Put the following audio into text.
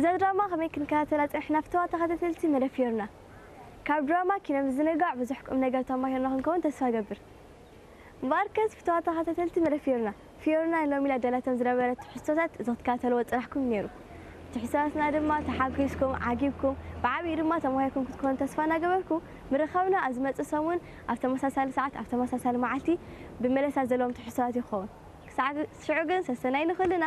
እዛ ድራማ ከመይ ክንከታተላ ጸኒሕና ፍተዋ ተኸታተልቲ መደብ ፊዮርና። ካብ ድራማ ኪነ ምዝንጋዕ ብዙሕ ቁም ነገር ተማሂርና ክንከውን ተስፋ ገብር። እምበኣርከስ ፍተዋ ተኸታተልቲ መደብ ፊዮርና፣ ፊዮርና ሎሚ ላዳላቶም ዝነበረ ትሕዝቶታት እዚ ክትከታተልዎ ጽናሕኩም ነይሩ። ትሕዝቶታትና ድማ ተሓጒስኩም፣ ዓጊብኩም፣ ብዓብዪ ድማ ተማሂርኩም ክትኮኑ ተስፋ እናገበርኩ ምርኻብና ኣብ ዝመጽእ ሰሙን ኣብ ተመሳሳሊ ሰዓት ኣብ ተመሳሳሊ መዓልቲ ብመለሳ ዘለዎም ትሕዝቶታት ይኸውን። ክሳዕ ሽዑ ግን ሰሰናይ ንኹልና።